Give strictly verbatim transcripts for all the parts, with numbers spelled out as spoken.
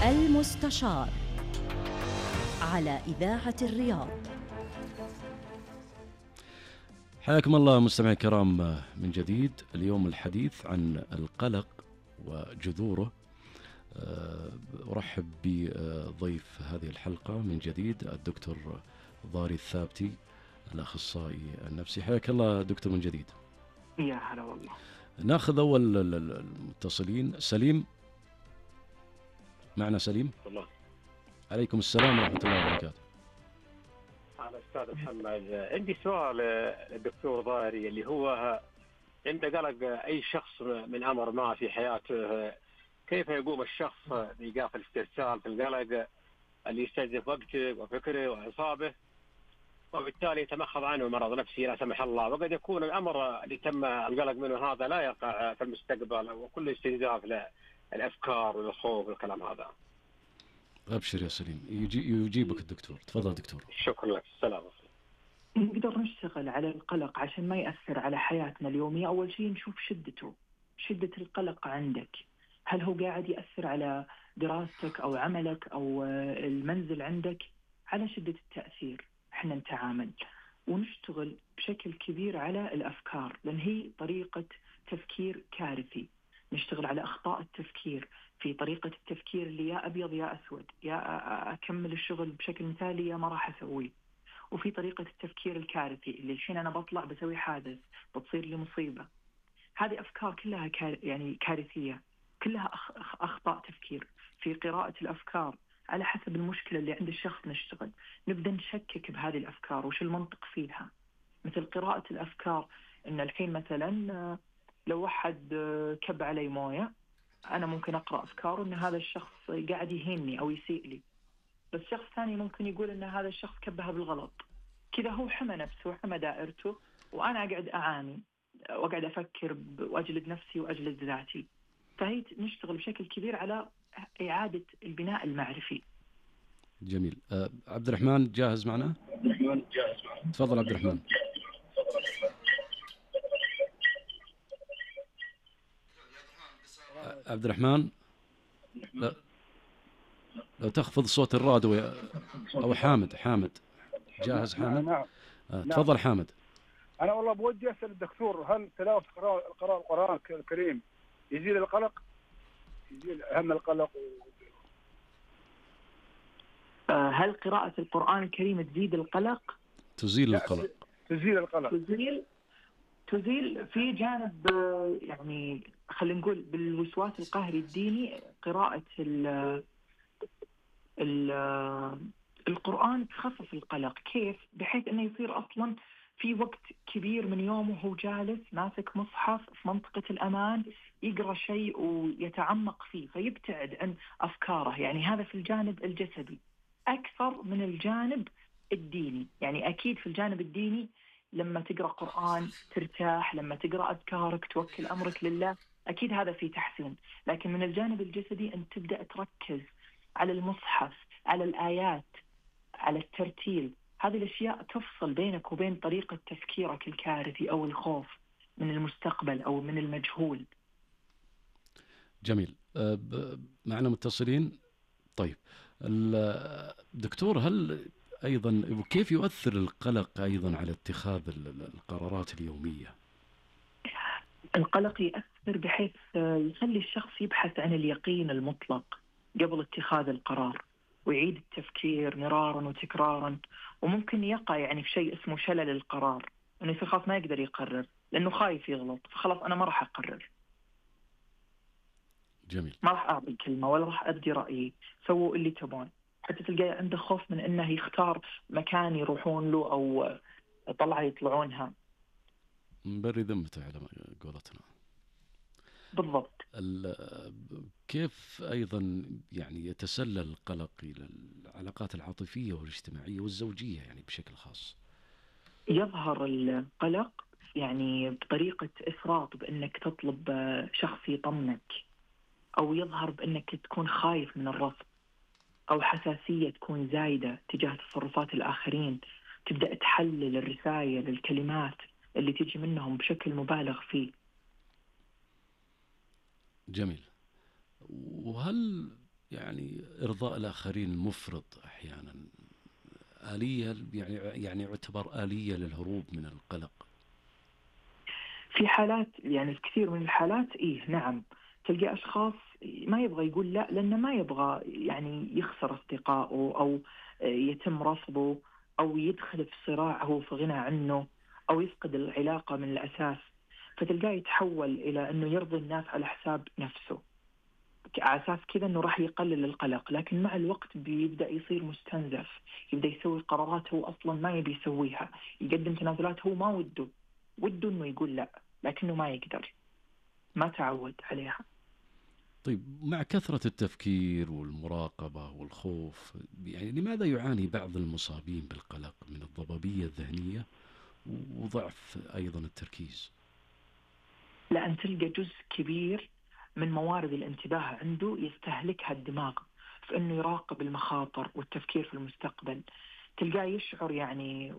المستشار على إذاعة الرياض. حياكم الله مستمعي الكرام من جديد. اليوم الحديث عن القلق وجذوره. أرحب بضيف هذه الحلقة من جديد الدكتور ضاري الثابتي الأخصائي النفسي. حياك الله دكتور من جديد. يا هلا والله. ناخذ أول المتصلين. سليم معنا. سليم الله. عليكم السلام ورحمة الله وبركاته. أنا أستاذ محمد، عندي سؤال للدكتور ضاري اللي هو عند قلق أي شخص من أمر ما في حياته، كيف يقوم الشخص بإيقاف الاسترسال في القلق اللي يستهدف وقته وفكره وأعصابه وبالتالي يتمخض عنه مرض نفسي لا سمح الله، وقد يكون الأمر اللي تم القلق منه هذا لا يقع في المستقبل وكل استنزاف للأفكار والخوف والكلام هذا. أبشر يا سليم، يجي يجيبك الدكتور. تفضل دكتور. شكرا لك. السلام عليكم. نقدر نشتغل على القلق عشان ما يأثر على حياتنا اليومية. أول شيء نشوف شدته، شدة القلق عندك، هل هو قاعد يأثر على دراستك أو عملك أو المنزل عندك؟ على شدة التأثير احنا نتعامل ونشتغل بشكل كبير على الأفكار، لأن هي طريقة تفكير كارثي. نشتغل على أخطاء التفكير في طريقة التفكير اللي يا أبيض يا أسود، يا أكمل الشغل بشكل مثالي يا ما راح أسويه، وفي طريقة التفكير الكارثي اللي الحين أنا بطلع بسوي حادث بتصير لي مصيبة. هذه أفكار كلها كار يعني كارثية، كلها أخ أخطاء تفكير. في قراءة الأفكار على حسب المشكلة اللي عند الشخص نشتغل، نبدأ نشكك بهذه الأفكار وش المنطق فيها. مثل قراءة الأفكار إن الحين مثلا لو واحد كب علي موية، أنا ممكن أقرأ أفكار إن هذا الشخص قاعد يهيني أو يسيء لي، بس شخص ثاني ممكن يقول إن هذا الشخص كبها بالغلط. كذا هو حمى نفسه وحمى دائرته، وأنا أقعد أعاني وأقعد أفكر وأجلد نفسي وأجلد ذاتي. فهي نشتغل بشكل كبير على إعادة البناء المعرفي. جميل. أه عبد الرحمن جاهز معنا؟ عبد الرحمن جاهز معنا. تفضل عبد الرحمن. عبد الرحمن لو, لو تخفض صوت الراديو يا... أو حامد. حامد جاهز؟ حامد. نعم. أه تفضل حامد. أنا والله بودي أسأل الدكتور، هل تلاوة قراءة القرآن الكريم يزيل القلق؟ يزيل هم القلق و... هل قراءة القرآن الكريم تزيد القلق؟ تزيل القلق. تزيل القلق. تزيل تزيل في جانب يعني خلينا نقول بالوسواس القهري الديني. قراءة ال ال القرآن تخفف القلق. كيف؟ بحيث أنه يصير أصلا في وقت كبير من يومه هو جالس ماسك مصحف في منطقة الأمان يقرأ شيء ويتعمق فيه فيبتعد عن أفكاره. يعني هذا في الجانب الجسدي أكثر من الجانب الديني. يعني أكيد في الجانب الديني لما تقرأ قرآن ترتاح، لما تقرأ أذكارك توكل أمرك لله، أكيد هذا فيه تحسين. لكن من الجانب الجسدي أن تبدأ تركز على المصحف، على الآيات، على الترتيل. هذه الأشياء تفصل بينك وبين طريقة تفكيرك الكارثي أو الخوف من المستقبل أو من المجهول. جميل. معنا متصلين. طيب الدكتور، هل أيضا كيف يؤثر القلق أيضا على اتخاذ القرارات اليومية؟ القلق يأثر بحيث يخلي الشخص يبحث عن اليقين المطلق قبل اتخاذ القرار، ويعيد التفكير مرارا وتكرارا، وممكن يقع يعني في شيء اسمه شلل القرار، انه يصير خلاص ما يقدر يقرر لانه خايف يغلط، فخلاص انا ما راح اقرر. جميل. ما راح اعطي كلمه ولا راح ابدي رايي، سووا اللي تبون. حتى تلقى عنده خوف من انه يختار مكان يروحون له او طلعه يطلعونها. مبري ذمته على قولتنا. بالضبط. كيف أيضا يعني يتسلل القلق إلى العلاقات العاطفية والاجتماعية والزوجية يعني بشكل خاص؟ يظهر القلق يعني بطريقة إفراط، بأنك تطلب شخص يطمنك، أو يظهر بأنك تكون خايف من الرفض، أو حساسية تكون زايدة تجاه تصرفات الآخرين. تبدأ تحلل الرسائل الكلمات اللي تيجي منهم بشكل مبالغ فيه. جميل. وهل يعني إرضاء الآخرين المفرط أحيانا آلية، يعني يعني يعتبر آلية للهروب من القلق؟ في حالات، يعني في كثير من الحالات إيه نعم، تلقى أشخاص ما يبغى يقول لا لأنه ما يبغى يعني يخسر أصدقائه، أو يتم رفضه، أو يدخل في صراع هو في غنى عنه، أو يفقد العلاقة من الأساس. فتلقاه يتحول إلى أنه يرضي الناس على حساب نفسه، على أساس كذا أنه راح يقلل القلق. لكن مع الوقت بيبدأ يصير مستنزف، يبدأ يسوي قرارات هو أصلا ما يبي يسويها، يقدم تنازلات هو ما وده وده أنه يقول لا لكنه ما يقدر، ما تعود عليها. طيب، مع كثرة التفكير والمراقبة والخوف، يعني لماذا يعاني بعض المصابين بالقلق من الضبابية الذهنية وضعف أيضا التركيز؟ لأن تلقى جزء كبير من موارد الانتباه عنده يستهلكها الدماغ في أنه يراقب المخاطر والتفكير في المستقبل. تلقاه يشعر يعني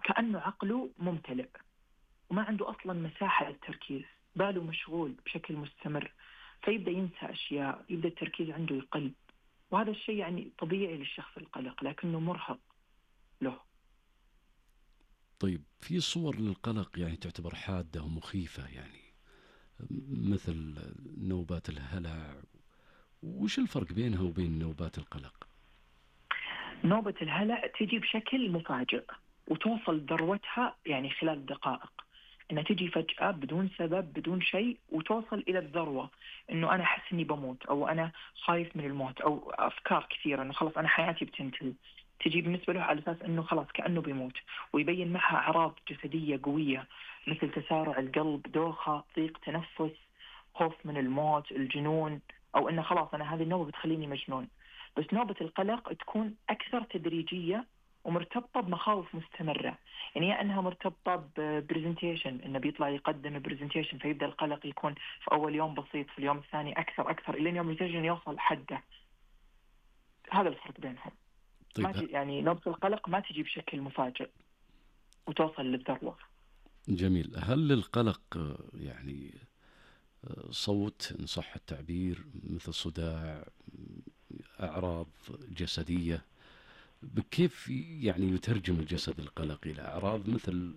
كأنه عقله ممتلئ وما عنده أصلا مساحة للتركيز، باله مشغول بشكل مستمر، فيبدأ ينسى أشياء، يبدأ التركيز عنده يقل. وهذا الشيء يعني طبيعي للشخص القلق لكنه مرهق له. طيب، في صور للقلق يعني تعتبر حادة ومخيفة، يعني مثل نوبات الهلع، وش الفرق بينها وبين نوبات القلق؟ نوبة الهلع تجي بشكل مفاجئ وتوصل ذروتها يعني خلال دقائق، انها تجي فجأة بدون سبب بدون شيء، وتوصل الى الذروة انه انا احس اني بموت، او انا خايف من الموت، او افكار كثيرة انه خلاص انا حياتي بتنتهي. تجي بالنسبة له على اساس انه خلاص كأنه بيموت، ويبين معها اعراض جسدية قوية مثل تسارع القلب، دوخة، ضيق تنفس، خوف من الموت، الجنون، او انه خلاص انا هذه النوبة بتخليني مجنون. بس نوبة القلق تكون اكثر تدريجية ومرتبطة بمخاوف مستمرة. يعني يا أنها مرتبطة ببرزنتيشن، إنه بيطلع يقدم برزنتيشن فيبدأ القلق يكون في أول يوم بسيط، في اليوم الثاني أكثر أكثر إلى يوم البرزنتيشن يوصل حده. هذا الفرق بينهم. طيب، ما تجي يعني نوبة القلق ما تجي بشكل مفاجئ وتوصل للذروة. جميل. هل للقلق يعني صوت إن صح التعبير، مثل صداع، أعراض جسدية؟ كيف يعني يترجم الجسد القلق إلى أعراض مثل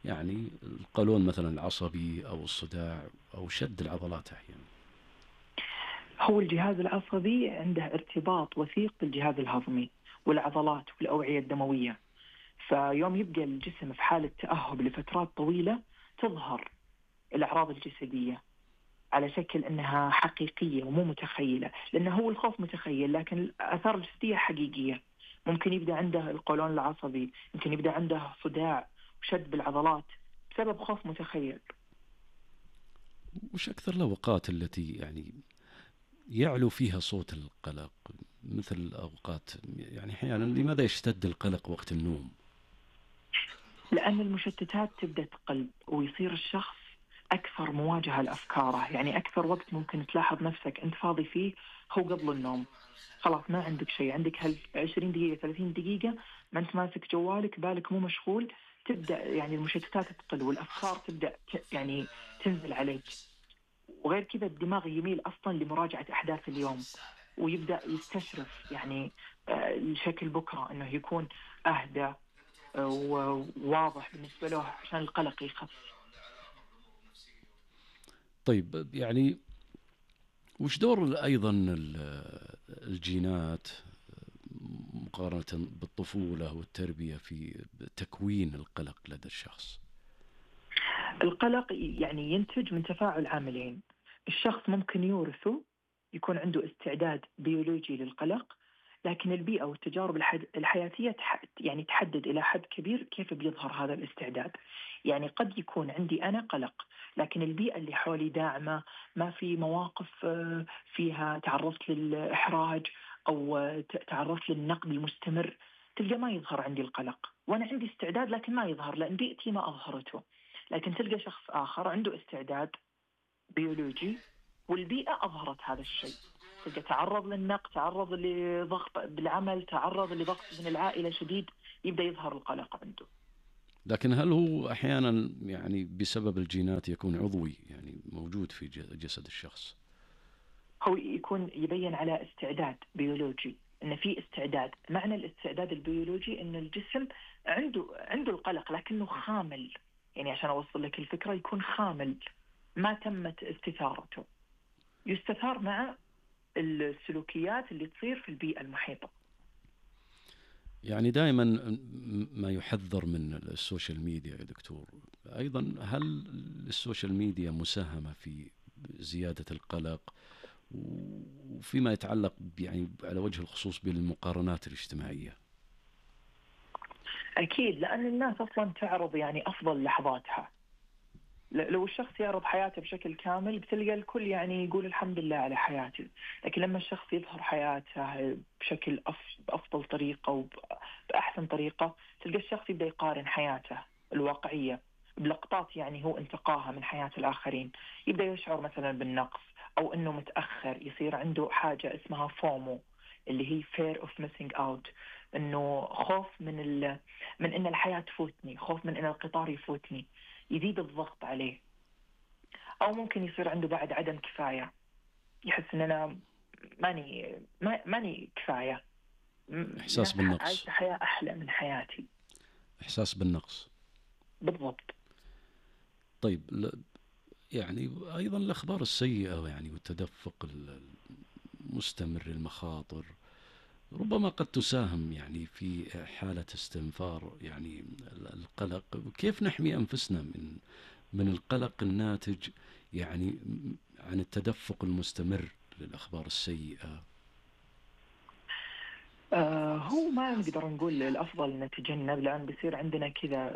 يعني القولون مثلا العصبي أو الصداع أو شد العضلات أحيانا؟ هو الجهاز العصبي عنده ارتباط وثيق بالجهاز الهضمي والعضلات والأوعية الدموية، فيوم يبقى الجسم في حالة تأهب لفترات طويلة تظهر الأعراض الجسدية على شكل أنها حقيقية ومو متخيلة، لأنه هو الخوف متخيل لكن الآثار الجسدية حقيقية. ممكن يبدأ عنده القولون العصبي، ممكن يبدأ عنده صداع وشد بالعضلات بسبب خوف متخيل. وش أكثر الأوقات التي يعني يعلو فيها صوت القلق، مثل الأوقات يعني أحيانا لماذا يشتد القلق وقت النوم؟ لأن المشتتات تبدأ تقل ويصير الشخص أكثر مواجهة لأفكاره. يعني أكثر وقت ممكن تلاحظ نفسك أنت فاضي فيه هو قبل النوم. خلاص ما عندك شيء، عندك هال عشرين دقيقة ثلاثين دقيقة ما أنت ماسك جوالك، بالك مو مشغول، تبدأ يعني المشتتات تقل والأفكار تبدأ يعني تنزل عليك. وغير كذا الدماغ يميل أصلا لمراجعة أحداث اليوم ويبدأ يستشرف يعني الشكل بكرة أنه يكون أهدى وواضح بالنسبة له عشان القلق يخف. طيب، يعني وش دور أيضا الجينات مقارنة بالطفولة والتربية في تكوين القلق لدى الشخص؟ القلق يعني ينتج من تفاعل عاملين. الشخص ممكن يورثه، يكون عنده استعداد بيولوجي للقلق، لكن البيئة والتجارب الحياتية يعني تحدد إلى حد كبير كيف بيظهر هذا الاستعداد. يعني قد يكون عندي أنا قلق لكن البيئة اللي حولي داعمة، ما في مواقف فيها تعرضت للإحراج أو تعرضت للنقد المستمر، تلقى ما يظهر عندي القلق. وأنا عندي استعداد لكن ما يظهر لأن بيئتي ما أظهرته. لكن تلقى شخص آخر عنده استعداد بيولوجي والبيئة أظهرت هذا الشيء، تلقى تعرض للنقد، تعرض لضغط بالعمل، تعرض لضغط من العائلة شديد، يبدأ يظهر القلق عنده. لكن هل هو أحيانا يعني بسبب الجينات يكون عضوي، يعني موجود في جسد الشخص؟ هو يكون يبين على استعداد بيولوجي، إن في استعداد. معنى الاستعداد البيولوجي إن الجسم عنده عنده القلق لكنه خامل، يعني عشان أوصل لك الفكرة يكون خامل ما تمت استثارته. يستثار مع السلوكيات اللي تصير في البيئة المحيطة. يعني دائما ما يحذر من السوشيال ميديا يا دكتور، أيضا هل السوشيال ميديا مساهمة في زيادة القلق وفيما يتعلق يعني على وجه الخصوص بالمقارنات الاجتماعية؟ أكيد، لأن الناس أصلا تعرض يعني أفضل لحظاتها. لو الشخص يعرض حياته بشكل كامل بتلقى الكل يعني يقول الحمد لله على حياته، لكن لما الشخص يظهر حياته بشكل بأفضل طريقة وبأحسن طريقة تلقى الشخص يبدأ يقارن حياته الواقعية بلقطات يعني هو انتقاها من حياة الآخرين، يبدأ يشعر مثلا بالنقص أو أنه متأخر، يصير عنده حاجة اسمها فومو اللي هي fear of missing out، أنه خوف من ال... من أن الحياة تفوتني، خوف من أن القطار يفوتني، يزيد الضغط عليه. أو ممكن يصير عنده بعد عدم كفاية، يحس أن أنا ماني ما... ماني كفاية، إحساس بالنقص، عايش حياة أحلى من حياتي، إحساس بالنقص بالضبط. طيب يعني أيضا الأخبار السيئة يعني والتدفق المستمر للمخاطر ربما قد تساهم يعني في حالة استنفار يعني القلق. كيف نحمي أنفسنا من من القلق الناتج يعني عن التدفق المستمر للأخبار السيئة؟ آه هو ما نقدر نقول الأفضل نتجنب، لأن بيصير عندنا كذا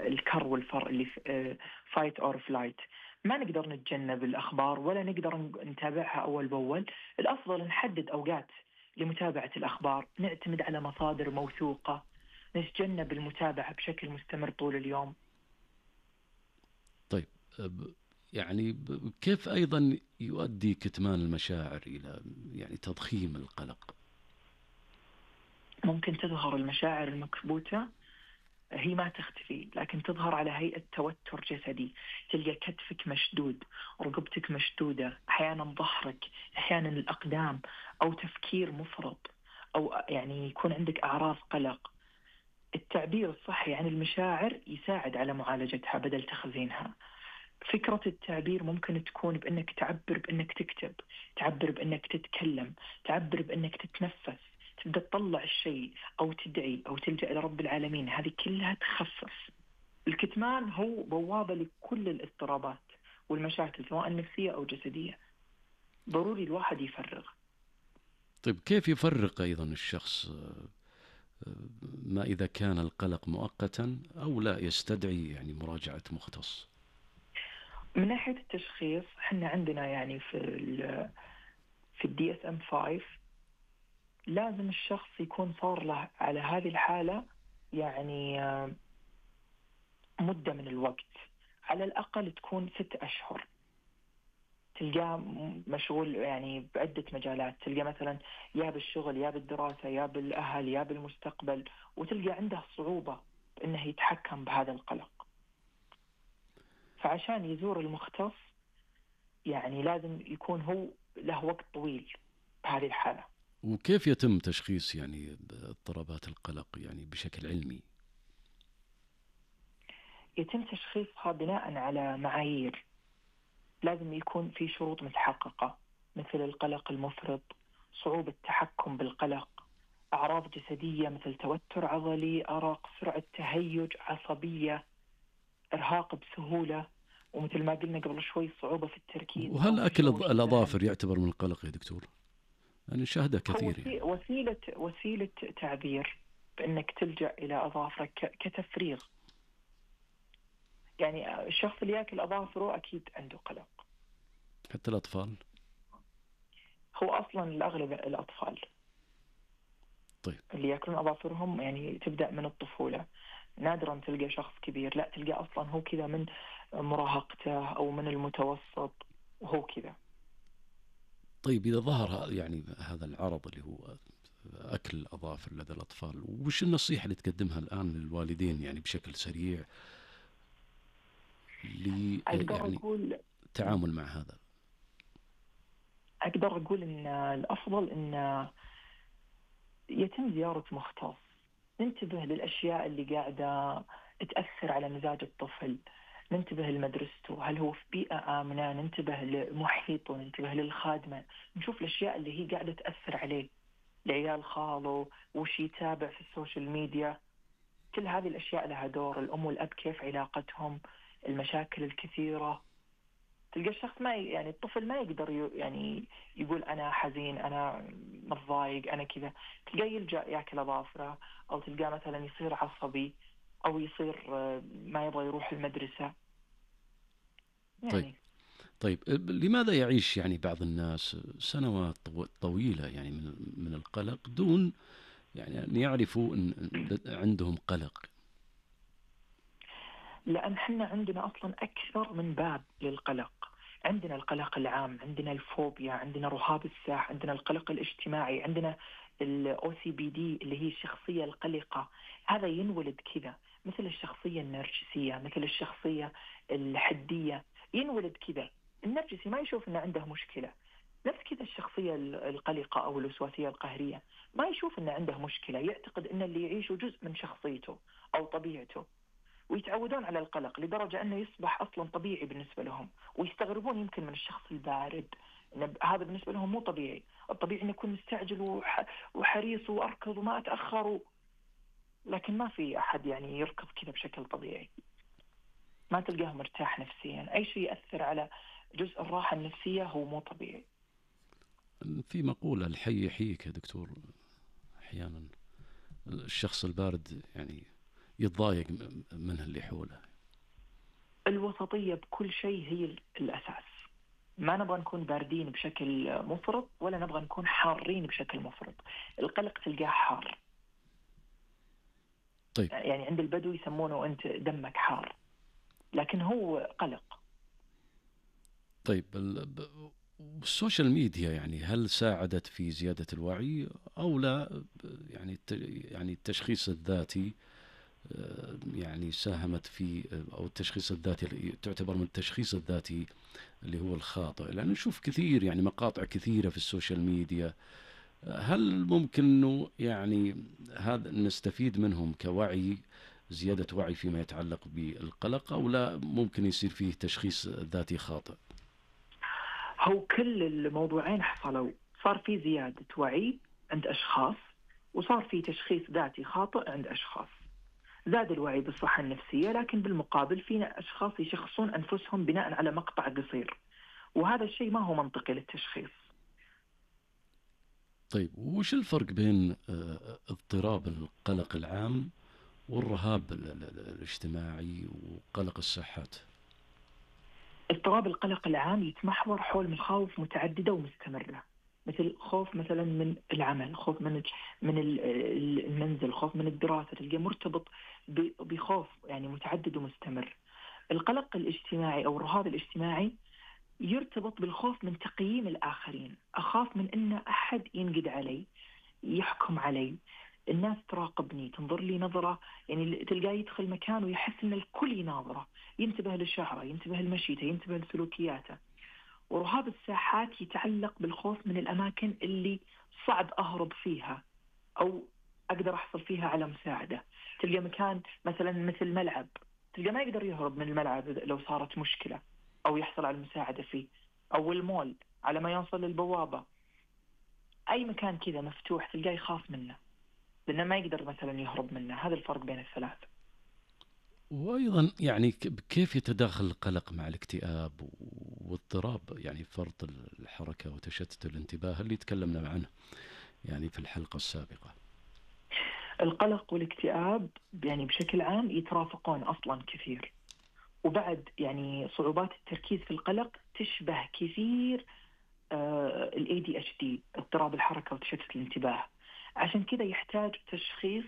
الكر والفر اللي فايت أور فلايت، ما نقدر نتجنب الأخبار ولا نقدر نتابعها أول بأول. الأفضل نحدد أوقات لمتابعة الأخبار، نعتمد على مصادر موثوقة، نتجنب المتابعة بشكل مستمر طول اليوم. طيب يعني كيف أيضا يؤدي كتمان المشاعر إلى يعني تضخيم القلق؟ ممكن تظهر المشاعر المكبوتة، هي ما تختفي لكن تظهر على هيئة توتر جسدي، تلقى كتفك مشدود، رقبتك مشدودة، أحيانا ظهرك، أحيانا الأقدام، أو تفكير مفرط، أو يعني يكون عندك أعراض قلق. التعبير الصحي عن المشاعر يساعد على معالجتها بدل تخزينها. فكرة التعبير ممكن تكون بأنك تعبر بأنك تكتب، تعبر بأنك تتكلم، تعبر بأنك تتنفس، تبدأ تطلع الشيء أو تدعي أو تلجأ إلى رب العالمين، هذه كلها تخفف. الكتمان هو بوابة لكل الاضطرابات والمشاكل سواء نفسية أو جسدية، ضروري الواحد يفرغ. طيب كيف يفرق أيضا الشخص ما إذا كان القلق مؤقتا أو لا يستدعي يعني مراجعة مختص؟ من ناحية التشخيص احنا عندنا يعني في ال في الدي اس ام خمسة لازم الشخص يكون صار له على هذه الحالة يعني مدة من الوقت، على الأقل تكون ست أشهر. تلقاه مشغول يعني بعدة مجالات، تلقى مثلا يا بالشغل يا بالدراسة يا بالأهل يا بالمستقبل، وتلقى عنده صعوبة بأنه يتحكم بهذا القلق. فعشان يزور المختص يعني لازم يكون هو له وقت طويل بهذه الحالة. وكيف يتم تشخيص يعني اضطرابات القلق يعني بشكل علمي؟ يتم تشخيصها بناء على معايير، لازم يكون في شروط متحققة مثل القلق المفرط، صعوبة التحكم بالقلق، أعراض جسدية مثل توتر عضلي، أرق، سرعة تهيج، عصبية، إرهاق بسهولة، ومثل ما قلنا قبل شوي صعوبة في التركيز. وهل أكل الأظافر يعتبر من القلق يا دكتور؟ أنا شاهده كثير يعني. وسيلة وسيلة تعبير بأنك تلجأ إلى أظافرك كتفريغ. يعني الشخص اللي يأكل أظافره أكيد عنده قلق. حتى الأطفال؟ هو أصلا الأغلب الأطفال طيب اللي يأكلون أظافرهم يعني تبدأ من الطفولة، نادرا تلقى شخص كبير، لا تلقى أصلا هو كذا من مراهقته أو من المتوسط وهو كذا. طيب إذا ظهر يعني هذا العرض اللي هو أكل الأظافر لدى الأطفال، وش النصيحة اللي تقدمها الآن للوالدين يعني بشكل سريع لي يعني التعامل مع هذا؟ أقدر أقول إن الأفضل إن يتم زيارة مختص، ننتبه للأشياء اللي قاعدة تأثر على مزاج الطفل، ننتبه لمدرسته، هل هو في بيئة آمنة، ننتبه لمحيطه، ننتبه للخادمة، نشوف الأشياء اللي هي قاعدة تأثر عليه، لعيال خاله، وش يتابع في السوشيال ميديا. كل هذه الأشياء لها دور. الأم والأب كيف علاقتهم، المشاكل الكثيرة. تلقى الشخص ما ي... يعني الطفل ما يقدر ي... يعني يقول أنا حزين، أنا متضايق، أنا كذا. تلقاه يلجأ يأكل أظافره، أو تلقاه مثلا يصير عصبي، أو يصير ما يبغى يروح المدرسة يعني. طيب طيب لماذا يعيش يعني بعض الناس سنوات طويلة يعني من من القلق دون يعني أن يعرفوا أن عندهم قلق؟ لأن احنا عندنا أصلا أكثر من باب للقلق. عندنا القلق العام، عندنا الفوبيا، عندنا رهاب الساح، عندنا القلق الاجتماعي، عندنا الأو سي بي دي اللي هي الشخصية القلقة. هذا ينولد كذا، مثل الشخصية النرجسية، مثل الشخصية الحدية، ينولد كذا. النرجسي ما يشوف أنه عنده مشكلة، نفس كذا الشخصية القلقة أو الوسواسية القهرية ما يشوف أنه عنده مشكلة، يعتقد أن اللي يعيشه جزء من شخصيته أو طبيعته، ويتعودون على القلق لدرجة أنه يصبح أصلا طبيعي بالنسبة لهم، ويستغربون يمكن من الشخص البارد، إن هذا بالنسبة لهم مو طبيعي. الطبيعي أن يكون مستعجل وح... وحريص وأركض وما أتأخر و... لكن ما في أحد يعني يركض كذا بشكل طبيعي، ما تلقاه مرتاح نفسيا. أي شيء يأثر على جزء الراحة النفسية هو مو طبيعي. في مقولة الحي يحييك يا دكتور، أحيانا الشخص البارد يعني يتضايق منه اللي حوله. الوسطية بكل شيء هي الأساس. ما نبغى نكون باردين بشكل مفرط، ولا نبغى نكون حارين بشكل مفرط. القلق تلقاه حار. طيب. يعني عند البدو يسمونه أنت دمك حار، لكن هو قلق. طيب السوشيال ميديا يعني هل ساعدت في زيادة الوعي أو لا؟ يعني يعني التشخيص الذاتي يعني ساهمت في، أو التشخيص الذاتي تعتبر من التشخيص الذاتي اللي هو الخاطئ، لأن نشوف كثير يعني مقاطع كثيرة في السوشيال ميديا. هل ممكن إنه يعني هذا نستفيد منهم كوعي، زيادة وعي فيما يتعلق بالقلق، أو لا ممكن يصير فيه تشخيص ذاتي خاطئ؟ هو كل الموضوعين حصلوا، صار في زيادة وعي عند أشخاص، وصار في تشخيص ذاتي خاطئ عند أشخاص. زاد الوعي بالصحة النفسية، لكن بالمقابل فينا أشخاص يشخصون أنفسهم بناء على مقطع قصير، وهذا الشيء ما هو منطقي للتشخيص. طيب وش الفرق بين اضطراب القلق العام والرهاب الاجتماعي وقلق الصحات؟ اضطراب القلق العام يتمحور حول مخاوف متعددة ومستمرة، مثل خوف مثلا من العمل، خوف من من المنزل، خوف من الدراسة، تلقى مرتبط بخوف يعني متعدد ومستمر. القلق الاجتماعي أو الرهاب الاجتماعي يرتبط بالخوف من تقييم الآخرين، أخاف من أن أحد ينقد علي، يحكم علي، الناس تراقبني، تنظر لي نظرة، يعني تلقاه يدخل مكان ويحس أن الكل يناظره، ينتبه لشعره، ينتبه لمشيته، ينتبه لسلوكياته. ورهاب الساحات يتعلق بالخوف من الأماكن اللي صعب أهرب فيها أو أقدر أحصل فيها على مساعدة. تلقى مكان مثلا مثل ملعب، تلقى ما يقدر يهرب من الملعب لو صارت مشكلة أو يحصل على المساعدة فيه، أو المول على ما يوصل للبوابة. أي مكان كذا مفتوح تلقاه يخاف منه لأنه ما يقدر مثلا يهرب منه. هذا الفرق بين الثلاث. وأيضا يعني كيف يتداخل القلق مع الاكتئاب واضطراب يعني فرط الحركة وتشتت الانتباه اللي تكلمنا عنه يعني في الحلقة السابقة؟ القلق والاكتئاب يعني بشكل عام يترافقون أصلا كثير، وبعد يعني صعوبات التركيز في القلق تشبه كثير ال إيه دي إتش دي، اضطراب الحركة وتشتت الانتباه. عشان كذا يحتاج تشخيص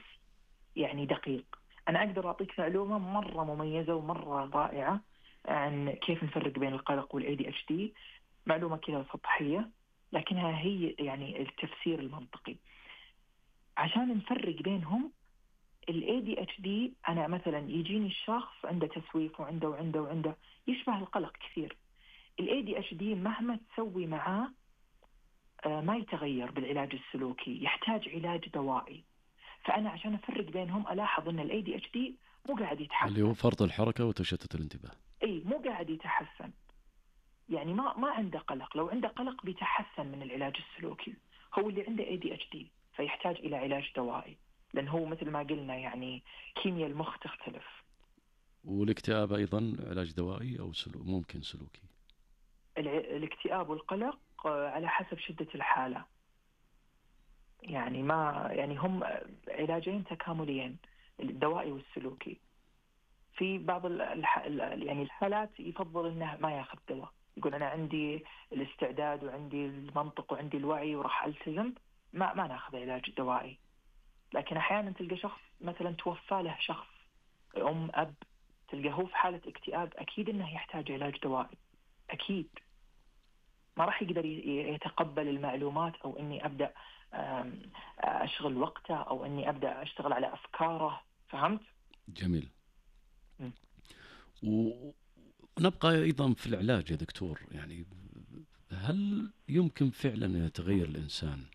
يعني دقيق. أنا أقدر أعطيك معلومة مرة مميزة ومرة رائعة عن كيف نفرق بين القلق وال إيه دي إتش دي، معلومة كذا سطحية لكنها هي يعني التفسير المنطقي. عشان نفرق بينهم، ال إيه دي إتش دي أنا مثلا يجيني الشخص عنده تسويف وعنده وعنده وعنده يشبه القلق كثير. ال إيه دي إتش دي مهما تسوي معاه آه، ما يتغير بالعلاج السلوكي، يحتاج علاج دوائي. فأنا عشان أفرق بينهم ألاحظ أن ال إيه دي إتش دي مو قاعد يتحسن، اللي هو فرط الحركة وتشتت الانتباه. أي مو قاعد يتحسن، يعني ما ما عنده قلق. لو عنده قلق بيتحسن من العلاج السلوكي. هو اللي عنده إيه دي إتش دي فيحتاج إلى علاج دوائي، لأن هو مثل ما قلنا يعني كيمياء المخ تختلف. والاكتئاب أيضا علاج دوائي أو سلو... ممكن سلوكي؟ الع- الاكتئاب والقلق آه، على حسب شدة الحالة، يعني ما يعني هم علاجين تكامليين، الدوائي والسلوكي. في بعض الح... يعني الحالات يفضل انه ما ياخذ دواء، يقول انا عندي الاستعداد وعندي المنطق وعندي الوعي وراح التزم، ما ما ناخذ علاج دوائي. لكن احيانا تلقى شخص مثلا توفى له شخص، ام اب، تلقى هو في حالة اكتئاب، اكيد انه يحتاج علاج دوائي، اكيد ما راح يقدر يتقبل المعلومات او اني ابدا اشغل وقته او اني ابدا اشتغل على افكاره. فهمت؟ جميل. م. ونبقى ايضا في العلاج يا دكتور، يعني هل يمكن فعلا ان يتغير الانسان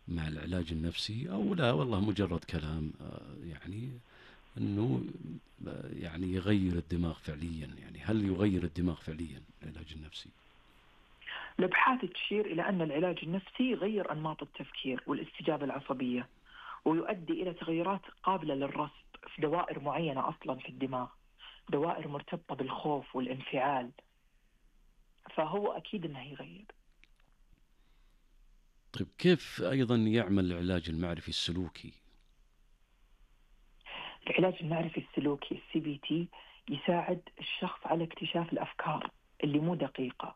مع العلاج النفسي او لا والله مجرد كلام يعني انه يعني يغير الدماغ فعليا؟ يعني هل يغير الدماغ فعليا العلاج النفسي؟ الابحاث تشير الى ان العلاج النفسي يغير انماط التفكير والاستجابه العصبيه، ويؤدي الى تغيرات قابله للرصد في دوائر معينه اصلا في الدماغ، دوائر مرتبطه بالخوف والانفعال. فهو اكيد انه يغير. طيب كيف ايضا يعمل العلاج المعرفي السلوكي؟ العلاج المعرفي السلوكي السي بي تي يساعد الشخص على اكتشاف الافكار اللي مو دقيقه،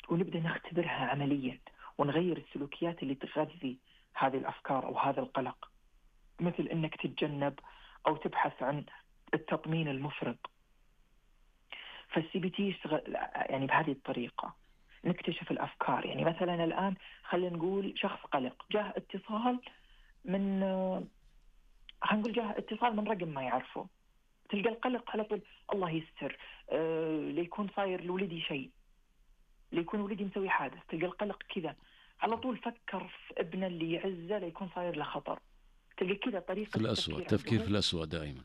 ونبدأ نختبرها عمليا ونغير السلوكيات اللي تغذي هذه الأفكار أو هذا القلق، مثل أنك تتجنب أو تبحث عن التطمين المفرط. فالسي بي تي يشتغل يعني بهذه الطريقة، نكتشف الأفكار. يعني مثلا الآن خلينا نقول شخص قلق، جاه اتصال من خلينا نقول جاه اتصال من رقم ما يعرفه، تلقى القلق على طول الله يستر، أه ليكون صاير لولدي شيء، ليكون ولدي مسوي حادث، تلقى القلق كذا على طول. فكر في ابنه اللي يعزه ليكون صاير له خطر، تلقى كذا طريقة في الأسوأ، التفكير في الأسوأ دائما.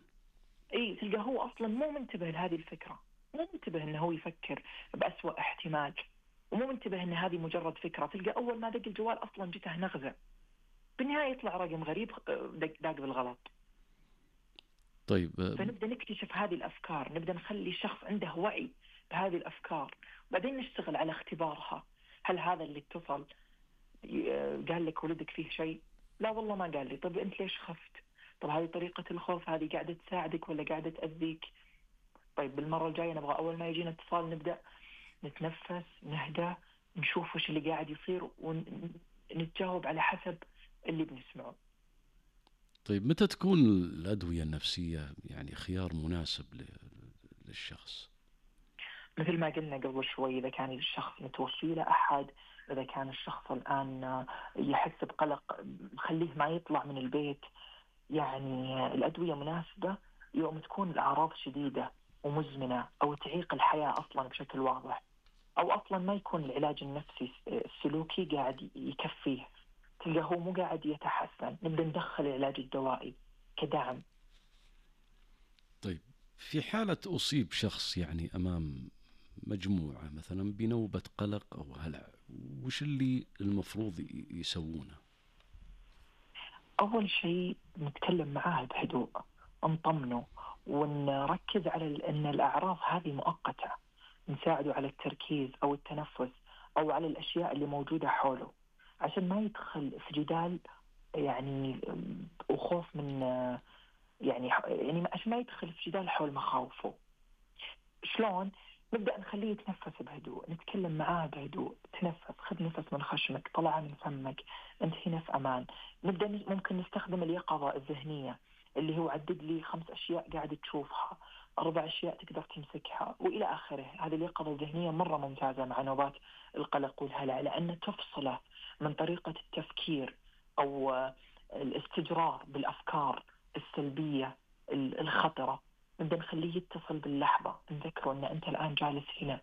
اي تلقى هو اصلا مو منتبه لهذه الفكرة، مو منتبه انه هو يفكر بأسوأ احتمال، ومو منتبه ان هذه مجرد فكرة. تلقى اول ما دق الجوال اصلا جته نغزة، بالنهاية يطلع رقم غريب دق داق بالغلط. طيب فنبدأ نكتشف هذه الأفكار، نبدأ نخلي الشخص عنده وعي بهذه الأفكار، بعدين نشتغل على اختبارها. هل هذا اللي اتصل قال لك ولدك فيه شيء؟ لا والله ما قال لي. طب أنت ليش خفت؟ طب هذه طريقة الخوف هذه قاعدة تساعدك ولا قاعدة تأذيك؟ طيب بالمرة الجاية نبغى أول ما يجينا اتصال نبدأ نتنفس، نهدى، نشوف وش اللي قاعد يصير ونتجاوب على حسب اللي بنسمعه. طيب متى تكون الأدوية النفسية يعني خيار مناسب للشخص؟ مثل ما قلنا قبل شوي، إذا كان الشخص متوفي له أحد، إذا كان الشخص الآن يحس بقلق خليه ما يطلع من البيت، يعني الأدوية مناسبة يوم تكون الأعراض شديدة ومزمنة أو تعيق الحياة أصلا بشكل واضح، أو أصلا ما يكون العلاج النفسي السلوكي قاعد يكفيه، تلقى هو مو قاعد يتحسن، نبدأ ندخل العلاج الدوائي كدعم. طيب في حالة أصيب شخص يعني أمام مجموعة مثلا بنوبة قلق أو هلع، وش اللي المفروض يسوونه؟ أول شيء نتكلم معاه بهدوء، نطمنه ونركز على أن الأعراض هذه مؤقتة، نساعده على التركيز أو التنفس أو على الأشياء اللي موجودة حوله، عشان ما يدخل في جدال يعني وخوف من يعني يعني عشان ما يدخل في جدال حول مخاوفه. شلون؟ نبدأ نخليه يتنفس بهدوء، نتكلم معاه بهدوء، تنفس، خذ نفس من خشمك، طلع من فمك، أنت هنا في أمان. نبدأ ممكن نستخدم اليقظة الذهنية اللي هو عدد لي خمس أشياء قاعد تشوفها، أربع أشياء تقدر تمسكها وإلى آخره. هذه اليقظة الذهنية مرة ممتازة مع نوبات القلق والهلع، لأن تفصله من طريقة التفكير أو الاستجرار بالأفكار السلبية الخطرة. نبدأ نخليه يتصل باللحظة، نذكره أن أنت الآن جالس هنا